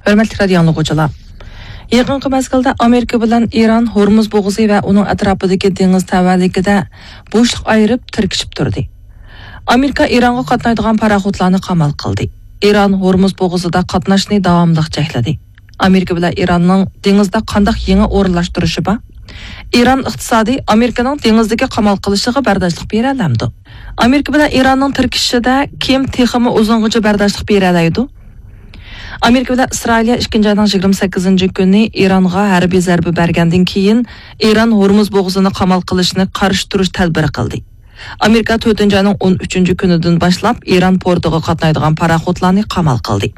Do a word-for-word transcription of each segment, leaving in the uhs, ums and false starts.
ھۆرمەتلىك رادىيو ئاڭلىغۇچىلار، يېقىنقى مەزگىلدە ئامېرىكا بىلەن ئىران ھورمۇز بوغۇزى ۋە ئۇنىڭ ئەتراپىدىكى دېڭىز تەۋەلىكىدە بوشلۇق ئايرىپ تىركىشىپ تۇردى. ئامېرىكا ئىرانغا قاتنايدىغان پاراخوتلارنى قامال قىلدى. ئىران ھورمۇز بوغۇزىدا قاتناشنى داۋاملىق چەكلىدى. ئامېرىكا بىلەن ئىراننىڭ دېڭىزدا قانداق يېڭى ئورۇنلاشتۇرۇشى بار؟ ئىران ئىقتىسادى ئامېرىكىنىڭ دېڭىزدىكى قامال قىلىشىغا بەرداشلىق بېرەلەمدۇ؟ ئامېرىكا بىلەن ئىراننىڭ تىركىشىشىدە كىم تېخىمۇ ئۇزۇنغىچە بەرداشلىق بېرەلەيدۇ؟ ئامېرىكا بىلەن ئىسرائىلىيە ئىككىنچى ئاينىڭ يىگىرمە سەككىزىنچى كۈنى ئىرانغا ھەربىي زەربە بەرگەندىن كېيىن، ئىران ھورمۇز بوغۇزىنى قامال قىلىشنى قارشى تۇرۇش تەدبىرى قىلدى. ئامېرىكا تۆتىنچى ئاينىڭ ئون ئۈچىنچى كۈنىدىن باشلاپ ئىران پورتىغا قاتنايدىغان پاراخوتلارنى قامال قىلدى.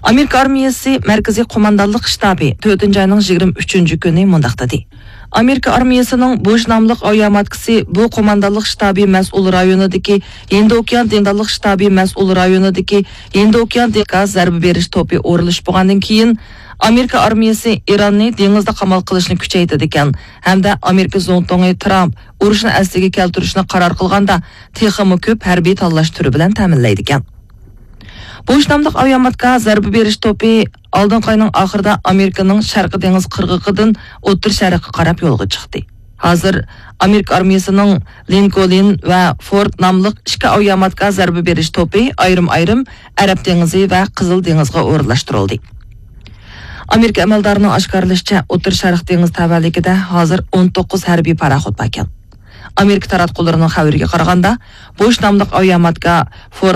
ئامېرىكا ئارمىيەسى مەركىزىي قوماندانلىق شتابى تۆتىنچى ئاينىڭ يىگىرمە ئۈچىنچى كۈنى مۇنداق دېدى: ئامېرىكا ئارمىيەسىنىڭ بۇش ناملىق ئاۋىياماتكىسى بۇ قوماندانلىق شتابى مەسئۇل رايونىدىكى ھىندى ئوكيان دېڭىزلىق شتابى مەسئۇل رايونىدىكى ھىندى ئوكيان دېڭىز زەربە بېرىش توپى ئورۇنلىشىپ بولغاندىن كېيىن، ئامېرىكا ئارمىيەسى ئىراننى دېڭىزدا قامال قىلىشنى كۈچەيتىدىكەن ھەمدە ئامېرىكا زۇڭتۇڭى ترامپ ئۇرۇشنى ئەسلىگە كەلتۈرۈشنى قارار قىلغاندا، تېخىمۇ كۆپ ھەربىي تاللاش تۈرى بىلەن تەمىنلەيدىكەن. بۇش ناملىق ئاۋىياماتكا زەربە بېرىش توپى ئالدىنقى ئاينىڭ ئاخىرىدا ئامېرىكىنىڭ شەرقىي دېڭىز قىرغىقىدىن ئوتتۇرا شەرققە قاراپ يولغا چىقتى. ھازىر ئامېرىكا ئارمىيەسىنىڭ لىنكولن ۋە فورد ناملىق ئىككى ئاۋىياماتكا زەربە بېرىش توپى ئايرىم-ئايرىم ئەرەب دېڭىزى ۋە قىزىل دېڭىزغا ئورۇنلاشتۇرۇلدى. ئامېرىكا ئەمەلدارىنىڭ ئاشكارىلىشىچە، ئوتتۇرا شەرق دېڭىز تەۋەلىكىدە ھازىر ئون توققۇز ھەربىي پاراخوت باركەن. ئامېرىكا تاراتقۇلىرىنىڭ خەۋىرىگە قارىغاندا، بۇش ناملىق ئاۋىياماتكا فورد